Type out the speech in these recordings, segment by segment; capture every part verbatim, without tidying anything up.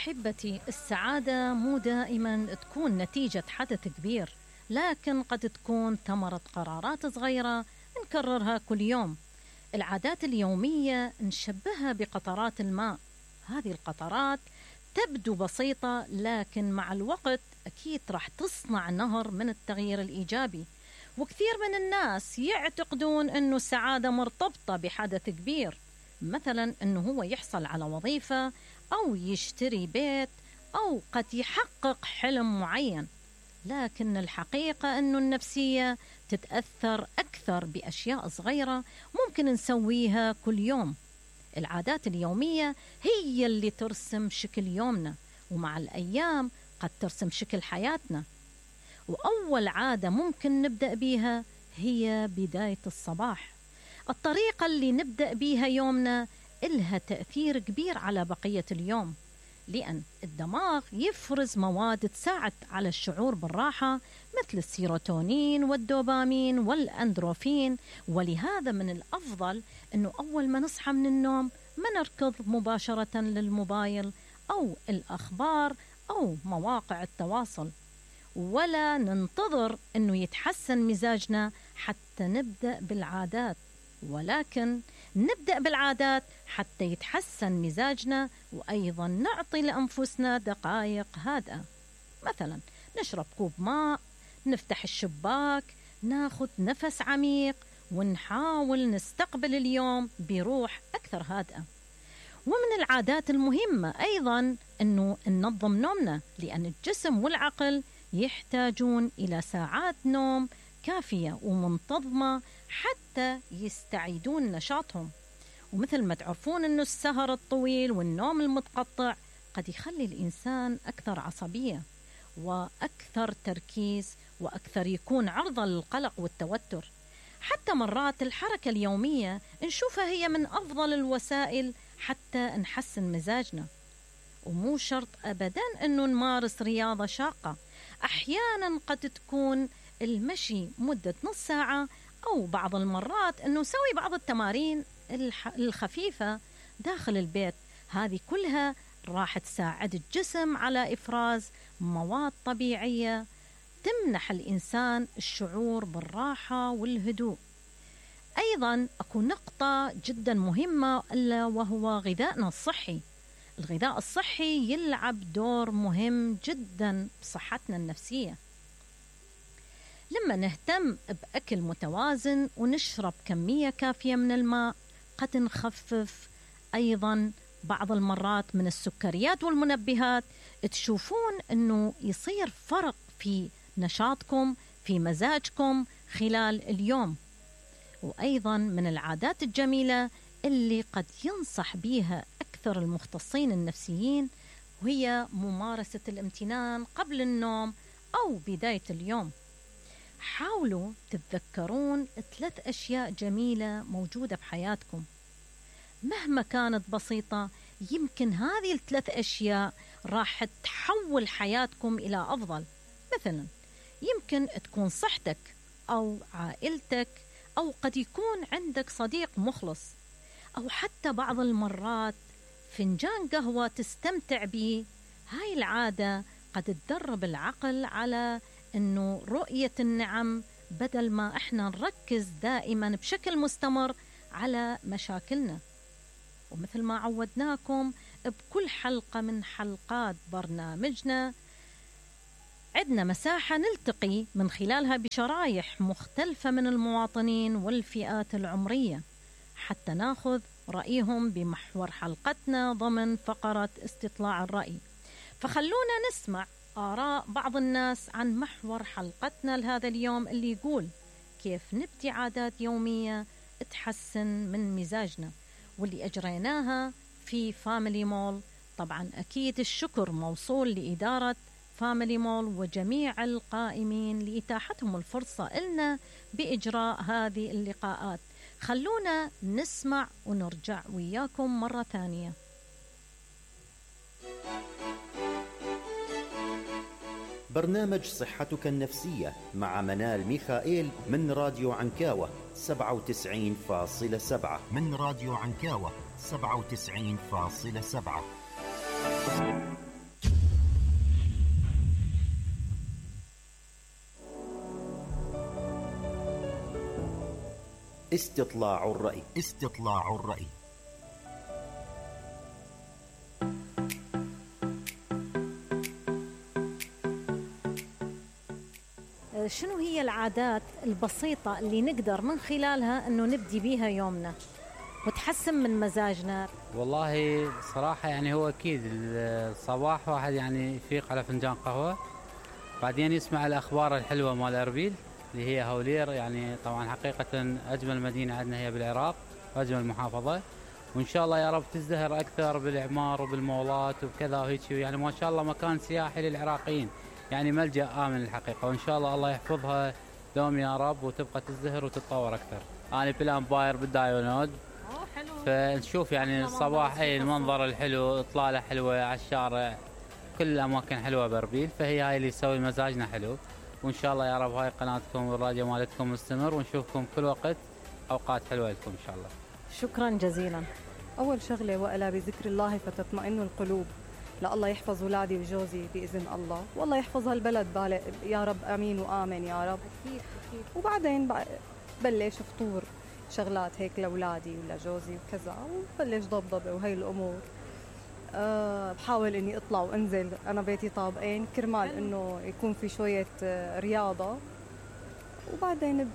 أحبتي، السعادة مو دائما تكون نتيجة حدث كبير، لكن قد تكون ثمرة قرارات صغيرة نكررها كل يوم. العادات اليومية نشبهها بقطرات الماء. هذه القطرات تبدو بسيطة، لكن مع الوقت أكيد راح تصنع نهر من التغيير الإيجابي. وكثير من الناس يعتقدون أنه السعادة مرتبطة بحدث كبير، مثلا أنه هو يحصل على وظيفة أو يشتري بيت أو قد يحقق حلم معين. لكن الحقيقة أنه النفسية تتأثر أكثر بأشياء صغيرة ممكن نسويها كل يوم. العادات اليومية هي اللي ترسم شكل يومنا، ومع الأيام قد ترسم شكل حياتنا. وأول عادة ممكن نبدأ بيها هي بداية الصباح. الطريقة اللي نبدأ بيها يومنا إلها تأثير كبير على بقية اليوم، لأن الدماغ يفرز مواد تساعد على الشعور بالراحة مثل السيروتونين والدوبامين والأندروفين. ولهذا من الأفضل أنه أول ما نصحى من النوم ما نركض مباشرة للموبايل أو الأخبار أو مواقع التواصل، ولا ننتظر أنه يتحسن مزاجنا حتى نبدأ بالعادات، ولكن نبدأ بالعادات حتى يتحسن مزاجنا. وأيضا نعطي لأنفسنا دقائق هادئة، مثلا نشرب كوب ماء، نفتح الشباك، ناخذ نفس عميق، ونحاول نستقبل اليوم بروح أكثر هادئة. ومن العادات المهمة أيضا أنه ننظم نومنا، لأن الجسم والعقل يحتاجون إلى ساعات نوم كافية ومنتظمة حتى يستعيدون نشاطهم. ومثل ما تعرفون أنه السهر الطويل والنوم المتقطع قد يخلي الإنسان أكثر عصبية وأكثر تركيز وأكثر يكون عرضة للقلق والتوتر. حتى مرات الحركة اليومية نشوفها هي من أفضل الوسائل حتى نحسن مزاجنا. ومو شرط أبدا أنه نمارس رياضة شاقة، أحيانا قد تكون المشي مدة نص ساعة، أو بعض المرات أنه نسوي بعض التمارين الخفيفة داخل البيت. هذه كلها راح تساعد الجسم على إفراز مواد طبيعية تمنح الإنسان الشعور بالراحة والهدوء. أيضا أكو نقطة جدا مهمة ألا وهو غذائنا الصحي. الغذاء الصحي يلعب دور مهم جدا بصحتنا النفسية. لما نهتم بأكل متوازن ونشرب كمية كافية من الماء، قد نخفف أيضا بعض المرات من السكريات والمنبهات. تشوفون أنه يصير فرق في نشاطكم، في مزاجكم خلال اليوم. وأيضا من العادات الجميلة اللي قد ينصح بها أكثر المختصين النفسيين وهي ممارسة الامتنان قبل النوم أو بداية اليوم. حاولوا تتذكرون ثلاث أشياء جميلة موجودة بحياتكم مهما كانت بسيطة. يمكن هذه الثلاث أشياء راح تحول حياتكم إلى أفضل. مثلا يمكن تكون صحتك أو عائلتك، أو قد يكون عندك صديق مخلص، أو حتى بعض المرات فنجان قهوة تستمتع به. هاي العادة قد تدرب العقل على أنه رؤية النعم بدل ما إحنا نركز دائما بشكل مستمر على مشاكلنا. ومثل ما عودناكم بكل حلقة من حلقات برنامجنا عندنا مساحة نلتقي من خلالها بشرايح مختلفة من المواطنين والفئات العمرية حتى ناخذ رأيهم بمحور حلقتنا ضمن فقرة استطلاع الرأي. فخلونا نسمع آراء بعض الناس عن محور حلقتنا لهذا اليوم اللي يقول كيف نبدي عادات يومية تحسن من مزاجنا، واللي أجريناها في فاميلي مول. طبعا أكيد الشكر موصول لإدارة فاميلي مول وجميع القائمين لإتاحتهم الفرصة لنا بإجراء هذه اللقاءات. خلونا نسمع ونرجع وياكم مرة ثانية. برنامج صحتك النفسية مع منال ميخائيل من راديو عنكاوة سبعة وتسعين فاصلة سبعة من راديو عنكاوة سبعة وتسعين فاصلة سبعة. استطلاع الرأي. استطلاع الرأي. شنو هي العادات البسيطة اللي نقدر من خلالها أنه نبدي بيها يومنا وتحسن من مزاجنا؟ والله صراحة يعني هو أكيد الصباح واحد يعني يفيق على فنجان قهوة، بعدين يسمع الأخبار الحلوة مال أربيل اللي هي هولير، يعني طبعا حقيقة أجمل مدينة عندنا هي بالعراق وأجمل محافظة، وإن شاء الله يا رب تزدهر أكثر بالإعمار وبالمولات وكذا وهيك، يعني ما شاء الله مكان سياحي للعراقيين، يعني ملجأ آمن الحقيقة، وإن شاء الله الله يحفظها دوم يا رب وتبقى تزدهر وتتطور أكثر. أنا بالأمباير بالدايونود، فنشوف يعني الصباح أي المنظر الحلو، إطلالة حلوة على الشارع، كل الأماكن حلوة بأربيل، فهي هاي اللي يسوي مزاجنا حلو، وإن شاء الله يا رب هاي قناتكم والراديو مالتكم مستمر، ونشوفكم كل وقت أوقات حلوة لكم إن شاء الله. شكرا جزيلا. أول شغلة وألا بذكر الله فتطمئن القلوب، لا الله يحفظ أولادي وجوزي بإذن الله، والله يحفظ هالبلد يا رب، آمين وآمن يا رب. أكيد أكيد. وبعدين بلش فطور شغلات هيك لأولادي ولجوزي وكذا، وبلش ضبضبة وهي الأمور. أه بحاول إني أطلع وأنزل، أنا بيتي طابقين كرمال إنه يكون في شوية رياضة، وبعدين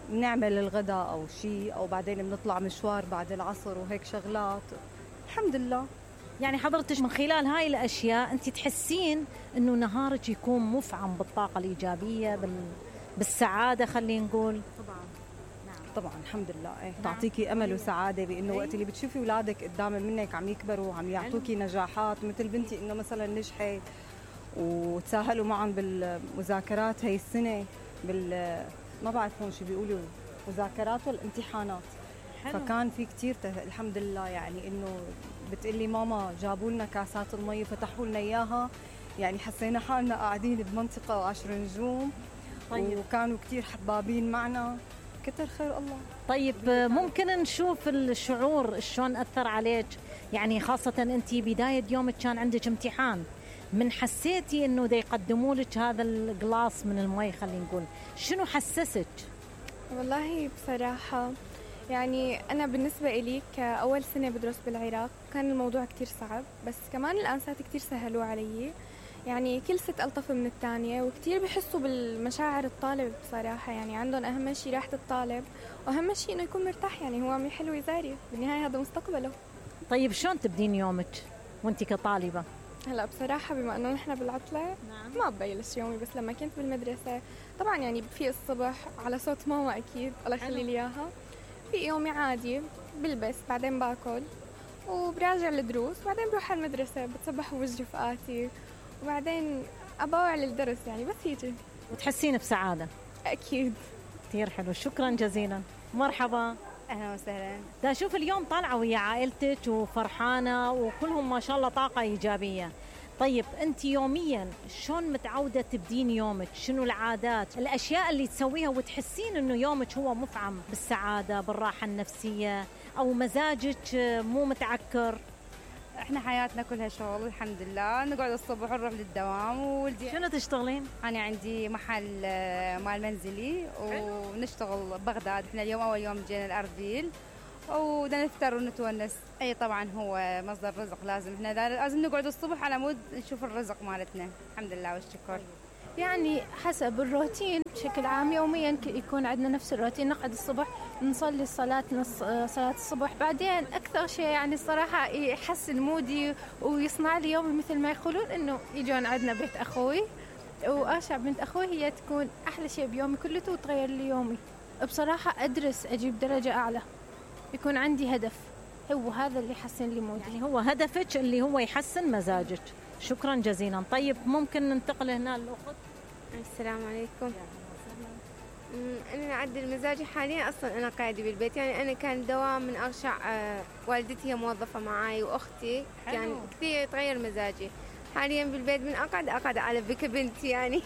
بنعمل الغداء أو شيء، أو بعدين بنطلع مشوار بعد العصر وهيك شغلات. الحمد لله. يعني حضرتك من خلال هاي الأشياء أنت تحسين إنه نهارك يكون مفعم بالطاقة الإيجابية بال... بالسعادة خلينا نقول؟ طبعا نعم طبعا الحمد لله. ايه نعم. تعطيكي أمل وسعادة بإنه وقت اللي بتشوفي أولادك قدام منك عم يكبروا وعم يعطوكي نجاحات، مثل بنتي إنه مثلا نجحت وتساهلوا معهم بالمذاكرات هاي السنة، بال ما بعرف هون شو بيقولوا مذاكرات والامتحانات. حلو. فكان في كتير الحمد لله، يعني إنه بتقلي ماما جابوا لنا كاسات المي وفتحوا لنا إياها، يعني حسينا حالنا قاعدين بمنطقة عشر نجوم. طيب. وكانوا كتير حبابين معنا، كتر خير الله. طيب ممكن نشوف الشعور شلون أثر عليك، يعني خاصة أنت بداية يومك كان عندك امتحان، من حسيتي إنه دا يقدموا لك هذا الجلاس من المي خلينا نقول، شنو حسسك؟ والله بصراحة يعني أنا بالنسبة إلي كأول سنة بدرس بالعراق كان الموضوع كتير صعب، بس كمان الأنسات كتير سهلوا علي، يعني كل ست ألطف من الثانية، وكتير بيحسوا بالمشاعر الطالب بصراحة، يعني عندهم أهم شيء راحة الطالب، وأهم شيء إنه يكون مرتاح، يعني هو عم يحل ويزاري، بالنهاية هذا مستقبله. طيب شلون تبدين يومك وانت كطالبة؟ هلا بصراحة بما إنه نحن بالعطلة نعم. ما ببلش يومي، بس لما كنت بالمدرسة طبعا يعني بفيق الصبح على صوت ماما أكيد الله يخلي لي إياها، في يومي عادي بلبس، بعدين باكل وبراجع الدروس، وبعدين بروح على المدرسة بتصبح بوجه رفقاتي، وبعدين أباوع للدرس، يعني بس هيجي. وتحسين بسعادة؟ أكيد. كثير حلو، شكرا جزيلا. مرحبا. أهلا وسهلا. دا شوف اليوم طالعة ويا عائلتك وفرحانة وكلهم ما شاء الله طاقة إيجابية. طيب أنت يوميا شلون متعودة تبدين يومك؟ شنو العادات الأشياء اللي تسويها وتحسين أنه يومك هو مفعم بالسعادة بالراحة النفسية أو مزاجك مو متعكر؟ احنا حياتنا كلها شغل الحمد لله، نقعد الصبح ونروح للدوام. وولدي شنو تشتغلين؟ انا عندي محل مال منزلي ونشتغل ببغداد. احنا اليوم اول يوم جينا الاربيل وبدنا نفطر ونتونس. اي طبعا هو مصدر رزق، لازم احنا لازم نقعد الصبح على مود نشوف الرزق مالتنا. الحمد لله والشكر. يعني حسب الروتين بشكل عام يوميا يكون عندنا نفس الروتين، نقعد الصبح نصلي الصلاة نص صلاة الصبح، بعدين أكثر شيء يعني الصراحة يحسن مودي ويصنع لي يومي مثل ما يقولون إنه يجون عندنا بيت أخوي وآشع بنت أخوي، هي تكون أحلى شيء بيومي كله وتغير لي يومي. بصراحة أدرس أجيب درجة أعلى، يكون عندي هدف، هو هذا اللي يحسن لي مودي. يعني هو هدفك اللي هو يحسن مزاجك. شكرا جزيلا. طيب ممكن ننتقل هنا للأخت. السلام عليكم. أنا أعدل مزاجي حاليا، أصلا أنا قاعدة بالبيت، يعني أنا كان دوام من أرشع. آه والدتي هي موظفة معاي وأختي، كان يعني كثير يتغير مزاجي. حاليا بالبيت من أقعد أقعد على بك بنتي يعني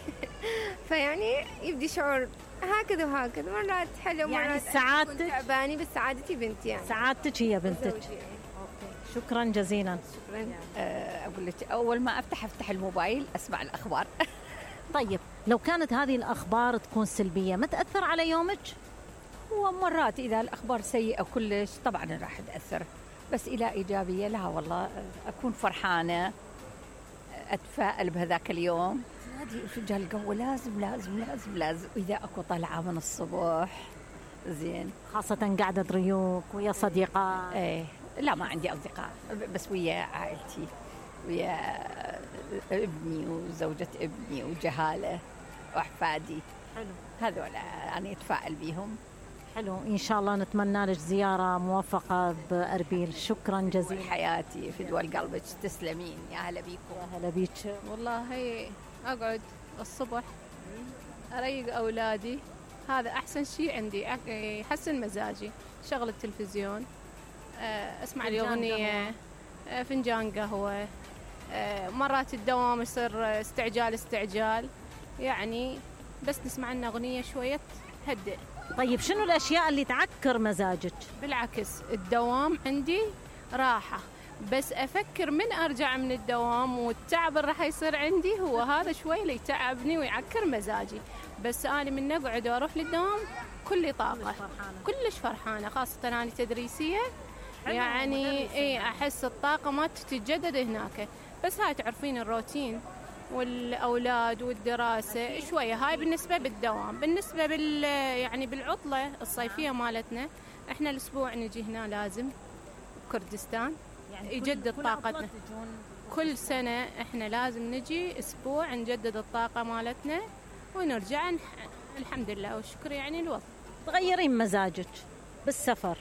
فيعني يبدي شعور هكذا وهكذا، مرات حلو مرات يعني سعادتك تعباني، بس سعادتي بنتي، يعني سعادتك هي بنتك. شكرا جزيلا. شكرا. أقول لك أول ما أفتح أفتح الموبايل أسمع الأخبار. طيب لو كانت هذه الأخبار تكون سلبية ما تأثر على يومك؟ ومرات إذا الأخبار سيئة كلش طبعا راح تأثر، بس إلى إيجابية لا والله أكون فرحانة، أتفائل بهذاك اليوم. نادي فنجان القهوة لازم لازم لازم لازم، وإذا أكو طلعة من الصبح زين، خاصة قاعدة ريوق ويا صديقات. إيه لا ما عندي أصدقاء، بس ويا عائلتي، ويا ابني وزوجة ابني وجهالة وأحفادي. حلو، هذول أنا أتفائل بيهم. حلو، إن شاء الله نتمنى لك زيارة موفقة بأربيل. شكرا جزيلا. حياتي في دول قلبك، تسلمين. يا هلا بيكم. يا هلا بيك. والله أقعد الصبح أريق أولادي، هذا أحسن شيء عندي، يحسن مزاجي. شغل التلفزيون، أسمع لي أغنية، فنجان قهوة. مرات الدوام يصير استعجال استعجال يعني، بس نسمع لنا أغنية شوية هدئ. طيب شنو الأشياء اللي تعكر مزاجك؟ بالعكس الدوام عندي راحة، بس أفكر من أرجع من الدوام والتعب اللي راح يصير عندي هو هذا شوي اللي يتعبني ويعكر مزاجي. بس أنا من أقعد وأروح للدوام كلي طاقة، كلش فرحانة، خاصة أنا تدريسية يعني إيه أحس الطاقة ما تتجدد هناك. بس هاي تعرفين الروتين والأولاد والدراسة شوية، هاي بالنسبة بالدوام. بالنسبة بال يعني بالعطلة الصيفية مالتنا، إحنا الأسبوع نجي هنا لازم كردستان يعني يجدد كل طاقتنا. كل سنة إحنا لازم نجي أسبوع نجدد الطاقة مالتنا ونرجع نح... الحمد لله والشكر يعني الوضع. تغيرين مزاجك بالسفر،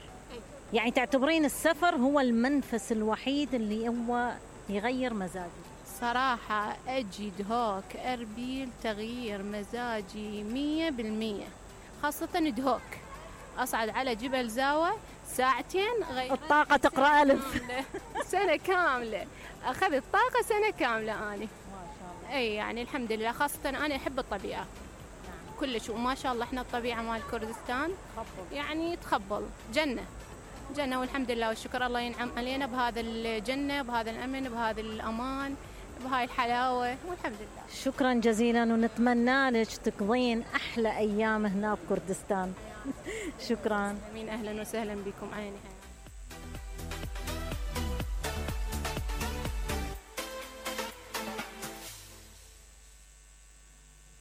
يعني تعتبرين السفر هو المنفس الوحيد اللي هو يغير مزاجك؟ صراحة أجد هوك أربيل تغيير مزاجي مية بالمية، خاصة دهوك أصعد على جبل زاوة ساعتين غير الطاقة تقرأ ألف سنة كاملة، أخذت طاقة سنة كاملة أنا. ما شاء الله. أي يعني الحمد لله، خاصة أنا أحب الطبيعة كلش، وما شاء الله إحنا الطبيعة مال كردستان تخبل. يعني تخبل جنة جنة، والحمد لله والشكر الله ينعم علينا بهذا الجنة، بهذا الأمن، بهذا الأمان، بهاي الحلاوة، والحمد لله. شكرا جزيلا، ونتمنى لك تقضين أحلى أيام هنا بكردستان. شكرا. أمين، أهلا وسهلا بكم. عيني.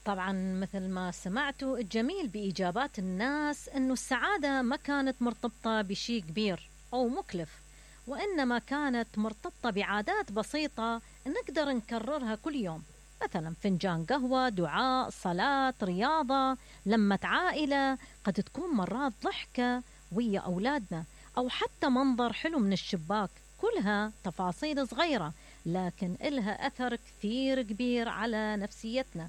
طبعا مثل ما سمعتوا الجميل بإجابات الناس أنه السعادة ما كانت مرتبطة بشيء كبير أو مكلف، وإنما كانت مرتبطة بعادات بسيطة نقدر نكررها كل يوم، مثلا فنجان قهوة، دعاء، صلاة، رياضة، لمة عائلة، قد تكون مرات ضحكة ويا أولادنا، أو حتى منظر حلو من الشباك. كلها تفاصيل صغيرة لكن إلها أثر كثير كبير على نفسيتنا.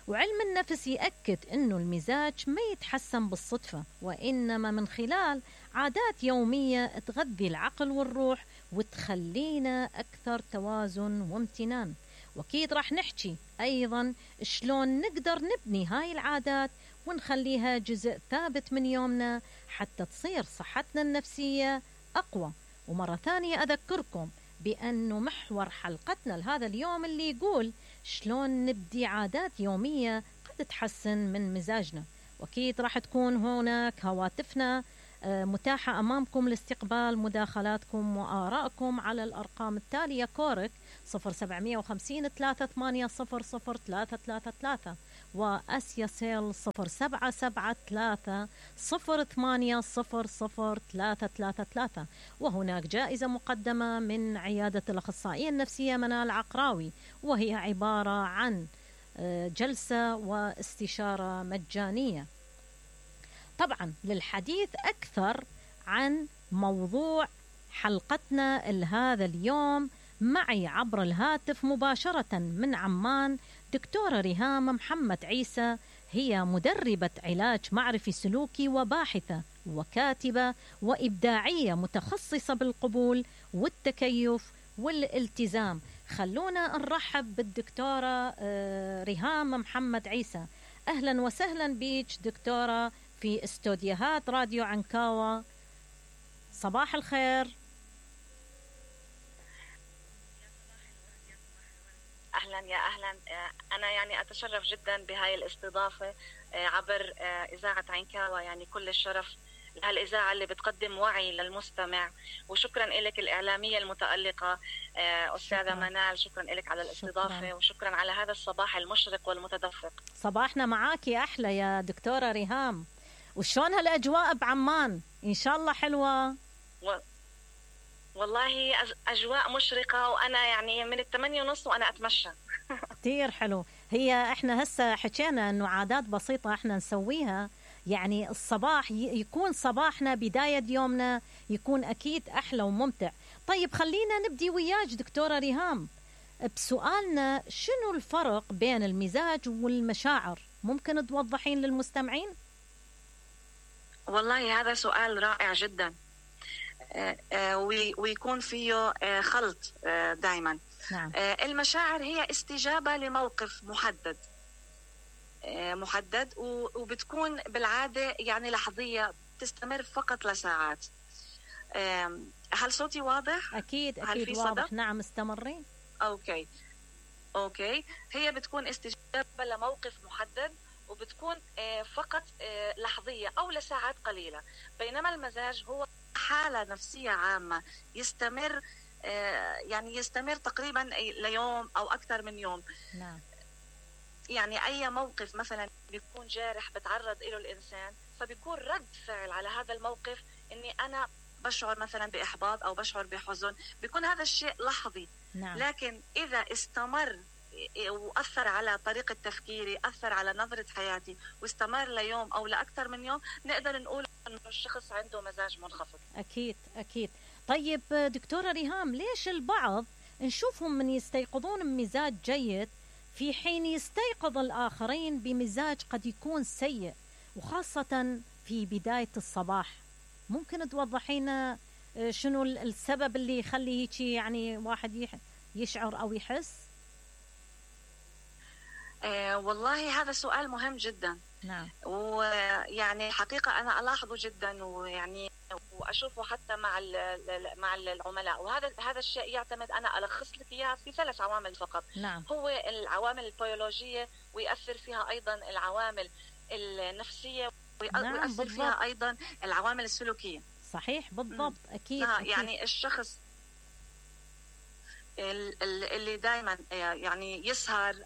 وعلم النفس يأكد أنه المزاج ما يتحسن بالصدفة، وإنما من خلال عادات يومية تغذي العقل والروح وتخلينا أكثر توازن وامتنان. وأكيد راح نحكي أيضا شلون نقدر نبني هاي العادات ونخليها جزء ثابت من يومنا حتى تصير صحتنا النفسية أقوى. ومرة ثانية أذكركم بأنه محور حلقتنا لهذا اليوم اللي يقول شلون نبدي عادات يومية قد تحسن من مزاجنا. وأكيد راح تكون هناك هواتفنا متاحة أمامكم لاستقبال مداخلاتكم وآرائكم على الأرقام التالية: كورك صفر سبعمية وخمسين ثلاثة ثمانية صفر صفر ثلاثة ثلاثة ثلاثة، وأسيا سيل صفر سبعة سبعة ثلاثة صفر ثمانية صفر صفر ثلاثة ثلاثة ثلاثة. وهناك جائزة مقدمة من عيادة الأخصائية النفسية منال عقراوي، وهي عبارة عن جلسة واستشارة مجانية. طبعا للحديث أكثر عن موضوع حلقتنا لهذا اليوم معي عبر الهاتف مباشرة من عمان دكتورة ريهام محمد عيسى، هي مدربة علاج معرفي سلوكي وباحثة وكاتبة وإبداعية متخصصة بالقبول والتكيف والالتزام. خلونا نرحب بالدكتورة ريهام محمد عيسى. أهلا وسهلا بيك دكتورة في استوديوهات راديو عنكاوة. صباح الخير. أهلا أهلا يا أهلا. أنا يعني أتشرف جدا بهاي الاستضافة عبر إذاعة عين-كاوى، يعني كل الشرف لهالإذاعة اللي بتقدم وعي للمستمع، وشكرا لك الإعلامية المتألقة أستاذة منال، شكرا لك على الاستضافة شكرا. وشكرا على هذا الصباح المشرق والمتدفق. صباحنا معاكي أحلى يا دكتورة ريهام. وشون هالأجواء بعمان؟ إن شاء الله حلوة. و... والله أجواء مشرقة، وأنا يعني من الثمانية ونص وأنا أتمشى. كتير حلو. هي إحنا هسه حكينا إنه عادات بسيطة إحنا نسويها، يعني الصباح يكون صباحنا بداية يومنا يكون أكيد أحلى وممتع. طيب خلينا نبدي وياك دكتورة ريهام بسؤالنا، شنو الفرق بين المزاج والمشاعر؟ ممكن توضحين للمستمعين؟ والله هذا سؤال رائع جدا، ويكون فيه خلط دائما. نعم. المشاعر هي استجابة لموقف محدد محدد وبتكون بالعادة يعني لحظية، تستمر فقط لساعات. هل صوتي واضح؟ أكيد أكيد واضح. نعم استمري. أوكي أوكي هي بتكون استجابة لموقف محدد، وبتكون فقط لحظية أو لساعات قليلة. بينما المزاج هو حالة نفسية عامة يستمر، يعني يستمر تقريبا ليوم أو أكثر من يوم. نعم. يعني أي موقف مثلا بيكون جارح بتعرض له الإنسان، فبيكون رد فعل على هذا الموقف إني أنا بشعر مثلا بإحباط أو بشعر بحزن، بيكون هذا الشيء لحظي. نعم. لكن إذا استمر وأثر على طريقة تفكيري، أثر على نظرة حياتي، واستمر ليوم أو لأكثر من يوم، نقدر نقول إنه الشخص عنده مزاج منخفض. أكيد أكيد. طيب دكتورة ريهام، ليش البعض نشوفهم من يستيقظون بمزاج جيد في حين يستيقظ الآخرين بمزاج قد يكون سيء، وخاصة في بداية الصباح؟ ممكن توضحينا شنو السبب اللي يخلي هيك يعني واحد يشعر أو يحس؟ آه والله هذا سؤال مهم جدا. نعم. ويعني حقيقة أنا ألاحظه جدا، ويعني وأشوفه حتى مع مع العملاء، وهذا هذا الشيء يعتمد، أنا ألخص لك إياها في ثلاث عوامل فقط. نعم. هو العوامل البيولوجية، ويأثر فيها أيضا العوامل النفسية، ويأثر نعم فيها أيضا العوامل السلوكية. صحيح بالضبط. أكيد. آه أكيد. يعني الشخص اللي دائما يعني يسهر،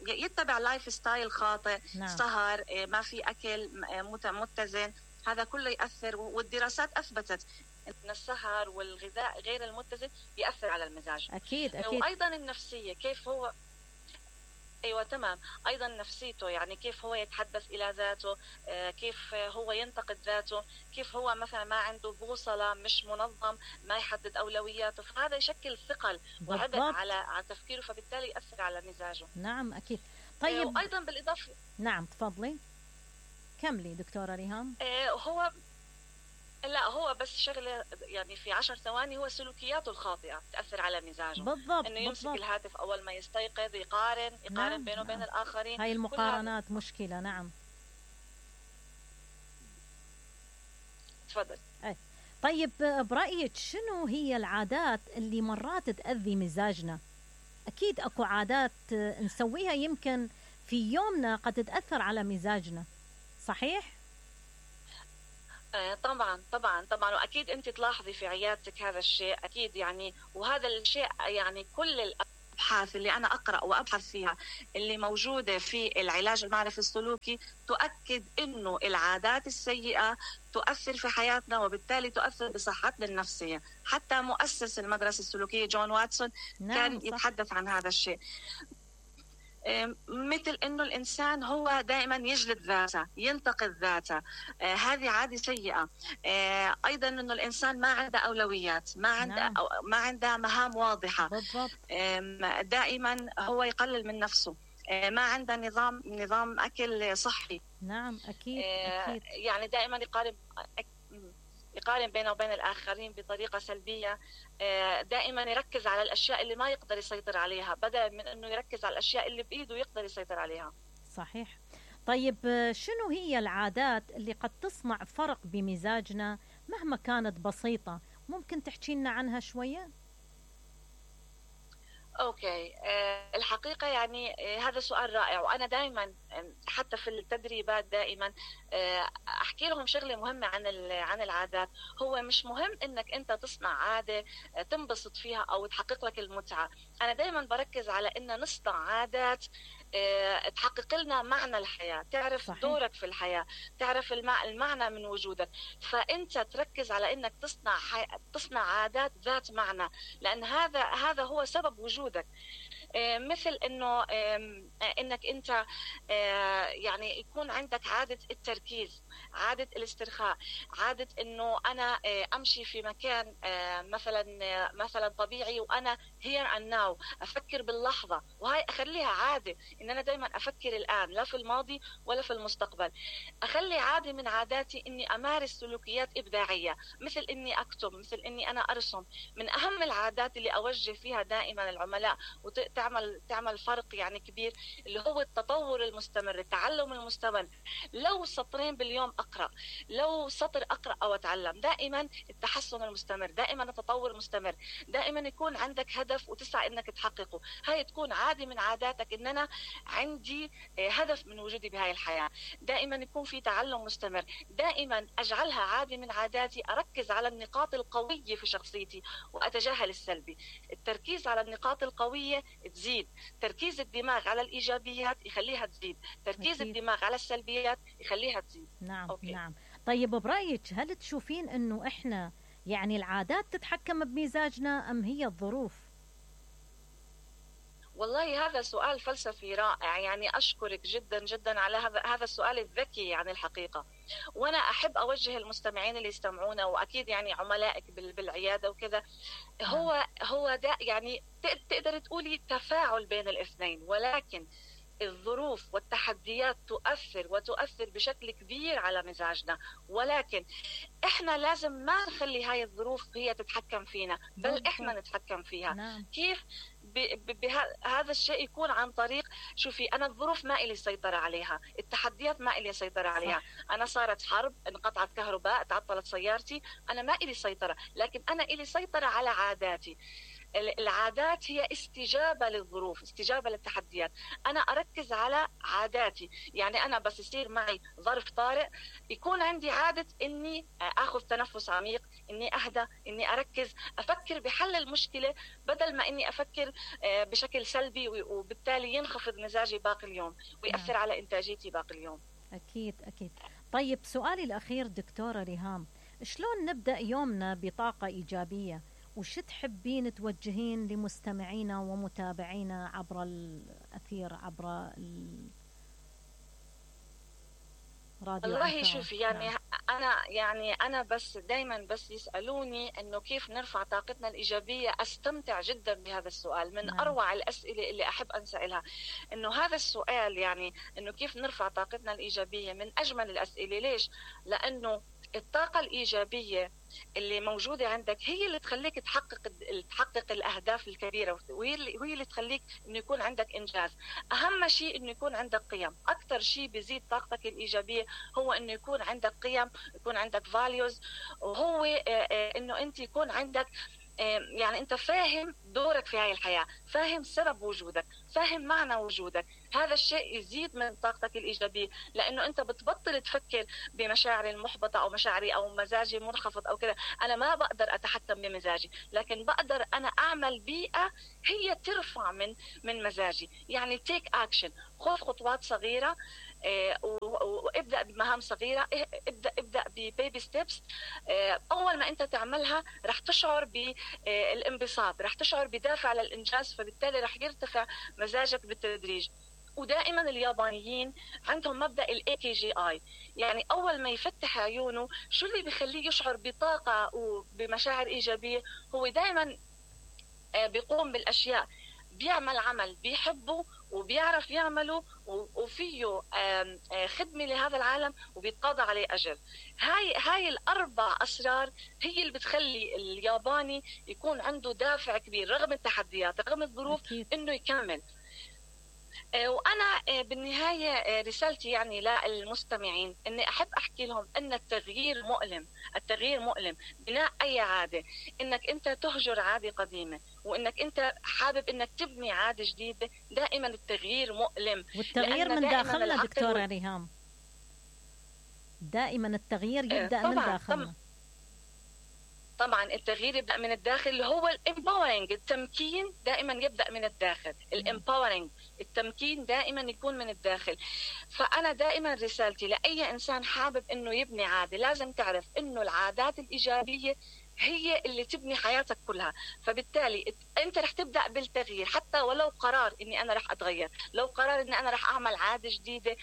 يتبع لايف ستايل خاطئ. نعم. سهر، ما في أكل متزن، هذا كله يأثر. والدراسات أثبتت أن السهر والغذاء غير المتزن يأثر على المزاج. أكيد أكيد. وأيضا النفسية، كيف هو أيوة تمام، أيضا نفسيته، يعني كيف هو يتحدث إلى ذاته، كيف هو ينتقد ذاته، كيف هو مثلا ما عنده بوصلة، مش منظم، ما يحدد أولوياته، فهذا يشكل ثقل وعبء على على تفكيره، فبالتالي يأثر على مزاجه. نعم أكيد. طيب. وأيضا بالإضافة. نعم تفضلي كملي دكتورة ريهام. هو لا هو بس شغله يعني في عشر ثواني، هو سلوكياته الخاطئه تاثر على مزاجه. بالضبط. انه يمسك بالضبط. الهاتف اول ما يستيقظ، يقارن يقارن نعم. بينه وبين نعم. الاخرين. هاي المقارنات مشكله. نعم تفضل. أي. طيب برايك شنو هي العادات اللي مرات تاذي مزاجنا؟ اكيد اكو عادات نسويها يمكن في يومنا قد تاثر على مزاجنا، صحيح؟ طبعا طبعا طبعا واكيد انت تلاحظي في عيادتك هذا الشيء اكيد، يعني وهذا الشيء يعني كل الابحاث اللي انا اقرا وابحث فيها اللي موجوده في العلاج المعرفي السلوكي تؤكد انه العادات السيئه تؤثر في حياتنا، وبالتالي تؤثر بصحتنا النفسيه. حتى مؤسس المدرسه السلوكيه جون واتسون نعم كان صح. يتحدث عن هذا الشيء، مثل انه الانسان هو دائما يجلد ذاته، ينتقد ذاته، آه هذه عاده سيئه. آه ايضا انه الانسان ما عنده اولويات، ما عنده نعم. ما عنده مهام واضحه. بالضبط. آه دائما هو يقلل من نفسه، آه ما عنده نظام نظام اكل صحي. نعم اكيد. آه اكيد. يعني دائما يقارن يقارن بينه وبين الآخرين بطريقة سلبية، دائما يركز على الأشياء اللي ما يقدر يسيطر عليها بدلا من أنه يركز على الأشياء اللي بإيده يقدر يسيطر عليها. صحيح. طيب شنو هي العادات اللي قد تصنع فرق بمزاجنا مهما كانت بسيطة؟ ممكن تحكي لنا عنها شوية؟ اوكي، أه الحقيقه يعني أه هذا سؤال رائع، وانا دائما حتى في التدريبات دائما أه احكي لهم شغله مهمه عن عن العادات. هو مش مهم انك انت تصنع عاده أه تنبسط فيها او تحقق لك المتعه. انا دائما بركز على ان نصنع عادات أه تحقق لنا معنى الحياه، تعرف صحيح. دورك في الحياه، تعرف المعنى من وجودك. فانت تركز على انك تصنع حي... تصنع عادات ذات معنى، لان هذا هذا هو سبب وجودك. مثل انه انك انت يعني يكون عندك عاده التركيز، عاده الاسترخاء، عاده انه انا امشي في مكان مثلا مثلا طبيعي وانا here and now، افكر باللحظه، وهي اخليها عاده ان انا دائما افكر الان، لا في الماضي ولا في المستقبل. اخلي عاده من عاداتي اني امارس سلوكيات ابداعيه، مثل اني اكتب، مثل اني انا ارسم. من اهم العادات اللي اوجه فيها دائما العملاء وتعمل تعمل فرق يعني كبير، اللي هو التطور المستمر، التعلم المستمر. لو سطرين باليوم اقرا، لو سطر اقرا او اتعلم، دائما التحسن المستمر، دائما التطور المستمر، دائما يكون عندك هدف وتسعى انك تحققه. هاي تكون عاده من عاداتك، ان انا عندي هدف من وجودي بهاي الحياه، دائما يكون في تعلم مستمر، دائما اجعلها عاده من عاداتي. اركز على النقاط القويه في شخصيتي واتجاهل السلبي. التركيز على النقاط القويه تزيد، تركيز الدماغ على الايجابيات يخليها تزيد، تركيز أكيد. الدماغ على السلبيات يخليها تزيد. نعم أوكي. نعم. طيب برايك هل تشوفين انه احنا يعني العادات تتحكم بمزاجنا ام هي الظروف؟ والله هذا سؤال فلسفي رائع، يعني أشكرك جدا جدا على هذا هذا السؤال الذكي يعني الحقيقة. وأنا أحب أوجه المستمعين اللي يستمعونا، وأكيد يعني عملائك بالعيادة وكذا، هو هو ده يعني تقدر تقولي تفاعل بين الاثنين، ولكن الظروف والتحديات تؤثر وتؤثر بشكل كبير على مزاجنا، ولكن احنا لازم ما نخلي هاي الظروف هي تتحكم فينا، بل احنا نتحكم فيها. نعم. كيف؟ بهذا الشيء يكون عن طريق، شوفي أنا الظروف ما إلي سيطرة عليها، التحديات ما إلي سيطرة عليها. صح. أنا صارت حرب، انقطعت كهرباء، تعطلت سيارتي، أنا ما إلي سيطرة، لكن أنا إلي سيطرة على عاداتي. العادات هي استجابة للظروف، استجابة للتحديات. أنا أركز على عاداتي، يعني أنا بس يصير معي ظرف طارئ يكون عندي عادة إني أخذ تنفس عميق، إني أهدى، إني أركز، أفكر بحل المشكلة بدل ما إني أفكر بشكل سلبي، وبالتالي ينخفض مزاجي باقي اليوم ويأثر نعم. على إنتاجيتي باقي اليوم. أكيد أكيد. طيب سؤالي الأخير دكتورة ريهام، شلون نبدأ يومنا بطاقة إيجابية؟ وش تحبين توجهين لمستمعينا ومتابعينا عبر الأثير، عبر الراديو؟ والله شوفي يعني نعم. أنا يعني أنا بس دايما بس يسألوني إنه كيف نرفع طاقتنا الإيجابية، أستمتع جدا بهذا السؤال، من نعم. أروع الأسئلة اللي أحب أنسألها. إنه هذا السؤال يعني إنه كيف نرفع طاقتنا الإيجابية من أجمل الأسئلة. ليش؟ لأنه الطاقة الإيجابية اللي موجودة عندك هي اللي تخليك تحقق تحقق الأهداف الكبيرة، وهي اللي وهي اللي تخليك إنه يكون عندك إنجاز. أهم شيء إنه يكون عندك قيم. أكثر شيء بيزيد طاقتك الإيجابية هو إنه يكون عندك قيم، يكون عندك values، وهو إنه أنت يكون عندك يعني أنت فاهم دورك في هاي الحياة، فاهم سبب وجودك، فاهم معنى وجودك. هذا الشيء يزيد من طاقتك الإيجابية، لأنه أنت بتبطل تفكر بمشاعري المحبطة أو مشاعري أو مزاجي منخفض أو كذا. أنا ما بقدر أتحكم بمزاجي، لكن بقدر أنا أعمل بيئة هي ترفع من من مزاجي. يعني take action، خذ خطوات صغيرة وابدأ بمهام صغيرة، ابدأ ابدأ ببيبي ستيبس. أول ما أنت تعملها رح تشعر بالانبساط، رح تشعر بدافع للإنجاز، فبالتالي رح يرتفع مزاجك بالتدريج. ودائما اليابانيين عندهم مبدأ ال إيه كي جي آي، يعني أول ما يفتح عيونه شو اللي بيخليه يشعر بطاقة وبمشاعر إيجابية؟ هو دائما بيقوم بالأشياء، بيعمل عمل بيحبه وبيعرف يعمله وفيه خدمة لهذا العالم وبيتقاضى عليه أجر. هاي هاي الأربع أسرار هي اللي بتخلي الياباني يكون عنده دافع كبير رغم التحديات، رغم الظروف، إنه يكمل. وأنا بالنهاية رسالتي يعني للمستمعين أني أحب أحكي لهم أن التغيير مؤلم. التغيير مؤلم. بناء أي عادة، أنك أنت تهجر عادة قديمة وأنك أنت حابب أنك تبني عادة جديدة، دائما التغيير مؤلم. والتغيير من داخلنا دكتورة ريهام، دائما التغيير يبدأ من داخلنا. طبعا التغيير يبدأ من الداخل، اللي هو الامباورنج، التمكين دائما يبدأ من الداخل. الامباورنج، التمكين دائما يكون من الداخل. فأنا دائما رسالتي لأي إنسان حابب إنه يبني عادة، لازم تعرف إنه العادات الإيجابية هي اللي تبني حياتك كلها. فبالتالي انت رح تبدا بالتغيير، حتى ولو قرار اني انا رح اتغير، لو قرار اني انا رح اعمل عاده جديده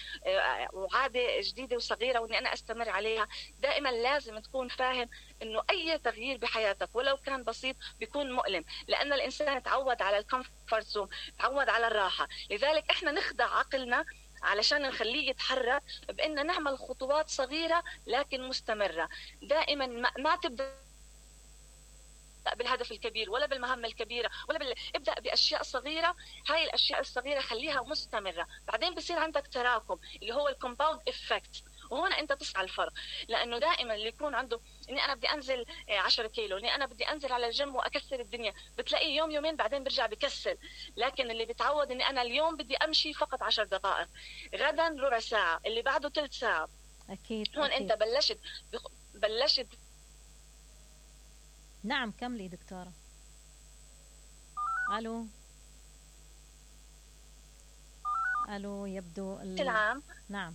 وعاده جديده وصغيره واني انا استمر عليها. دائما لازم تكون فاهم انه اي تغيير بحياتك ولو كان بسيط بيكون مؤلم، لان الانسان تعود على الكومفورت زون، تعود على الراحه. لذلك احنا نخدع عقلنا علشان نخليه يتحرك بان نعمل خطوات صغيره لكن مستمره. دائما ما تبدا بالهدف الكبير ولا بالمهمة الكبيرة ولا بال... ابدأ بأشياء صغيرة. هاي الأشياء الصغيرة خليها مستمرة، بعدين بصير عندك تراكم اللي هو الكومباوند إفكت. وهنا أنت تسعى الفرق، لأنه دائما اللي يكون عنده إني أنا بدي أنزل عشرة كيلو، إني أنا بدي أنزل على الجيم وأكسر الدنيا، بتلاقيه يوم يومين بعدين برجع بكسل. لكن اللي بتعود إني أنا اليوم بدي أمشي فقط عشر دقائق، غدا ربع ساعة، اللي بعده ثلث ساعة. أكيد. هون أكيد. أنت بلشت بلشت نعم كملي دكتورة. ألو ألو يبدو ال... العام. نعم.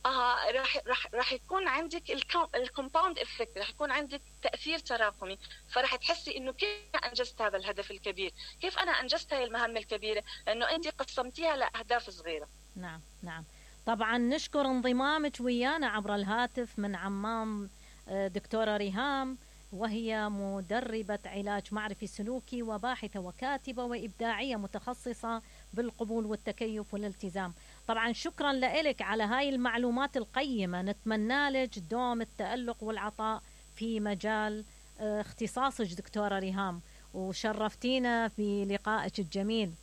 اه راح راح راح يكون عندك الكومباوند افكت، راح يكون عندك تاثير تراكمي. فراح تحسي انه كيف انجزت هذا الهدف الكبير، كيف انا انجزت هاي المهمه الكبيره، لانه انت قسمتيها لاهداف صغيره. نعم نعم. طبعا نشكر انضمامك ويانا عبر الهاتف من عمان دكتورة ريهام، وهي مدربة علاج معرفي سلوكي وباحثة وكاتبة وإبداعية متخصصة بالقبول والتكيف والالتزام. طبعا شكرا لك على هاي المعلومات القيمة، نتمنى لك دوم التألق والعطاء في مجال اختصاصك دكتورة ريهام، وشرفتينا في لقائك الجميل.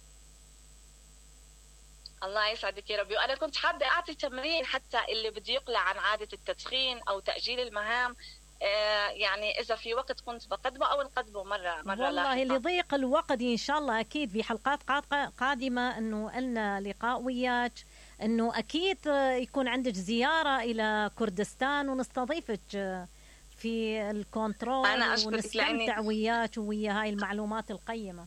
الله يسعدك يا ربي. وأنا كنت حابة أعطي تمرين حتى اللي بده يقلع عن عادة التدخين أو تأجيل المهام، يعني إذا في وقت كنت بقدمه أو نقدمه مرة مرة والله لضيق الوقت إن شاء الله أكيد في حلقات قادمة أنه لنا لقاء وياك، أنه أكيد يكون عندك زيارة إلى كردستان ونستضيفك في الكنترول ونستمتع وياك ويا هاي المعلومات القيمة.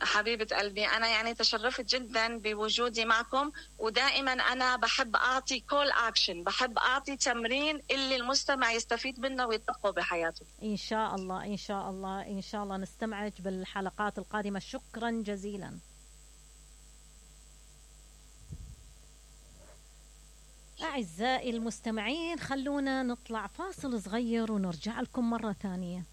حبيبة قلبي، أنا يعني تشرفت جدا بوجودي معكم، ودائما أنا بحب أعطي كول أكشن، بحب أعطي تمرين اللي المستمع يستفيد منه ويطبقه بحياته. إن شاء الله إن شاء الله إن شاء الله نستمعك بالحلقات القادمة. شكرا جزيلا. أعزائي المستمعين، خلونا نطلع فاصل صغير ونرجع لكم مرة ثانية.